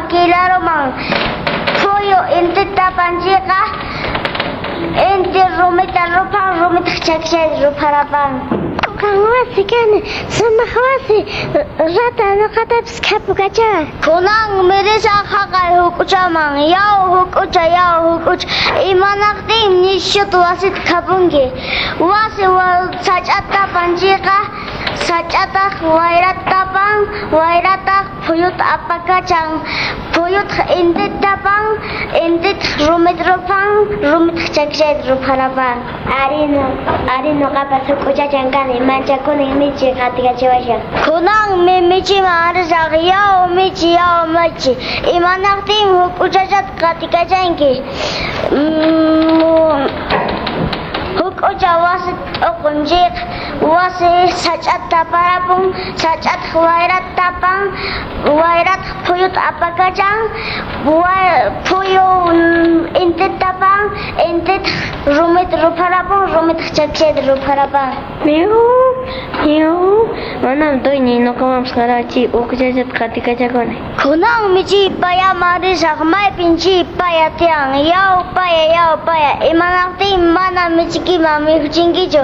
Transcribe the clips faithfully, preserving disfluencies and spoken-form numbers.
Kilaruman. Phuyu intita panchiqa inti rumita ruphan, rumitaq chakchayta rupharapan. Qan wasi kani, sumaq wasi, rata nuqatapis khapukachawan. Kunanmi risaq haqay huk'uchaman. Yaw huk'ucha, yaw huk'ucha, imanaqtinmi nishuta wasita khapunki? Wasi sach'ata tapanchiqa sach'ataq wayrata tapan, wayrataq phuyuta apakachan, phuyutaq intita tapan, intitaq rumita ruphan, rumitaq chakchayta rupharapan. Ari, ari nuqapas huk'uchachan kani, manchakunin michi qatikachawashan. Kunanmi michiman risaq. Yaw michi, yaw michi, imanaqtinmi huk'uchachata qatikachanki? Huk'ucha wasi t'uqun chayqa wasi sach'ata taparapun, sach'ataq wayrata tapan, wayrataq phuyuta apakachan, phuyu intita tapan, intitaq rumita rupharapun, rumitaq chakchayta rupharapan. Miau, miau, manam tuyniy nuqamanpas qarawachiy huk'uchachata qatikachakuni. Kunanmi chay payaman risaq. Maypin chay paya tiyan? Yaw paya, yaw paya, imanaqtinmi mana michikiman mikhuchinkichu?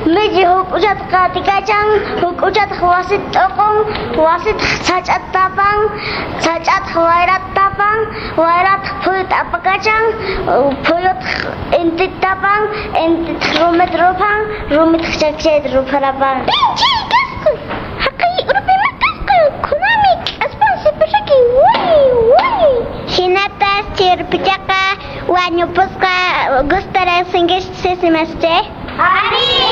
Michi huk'uchata qatikachan, huk'uchataq wasita t'uqun, wasitaq sach'ata tapan, sach'ataq wayrata tapan, wayrataq phuyuta apakachan, phuyutaq intita tapan, intitaq rumita ruphan, rumitaq chakchayta rupharapan. Pinchay kasqa, haqay urpima kasqa, kunanmi k'aspan sipasaki, wuy, wuy. Hinatas chay urpichaqa wañupusqa. Gustaraysinkichis simasche? Ari!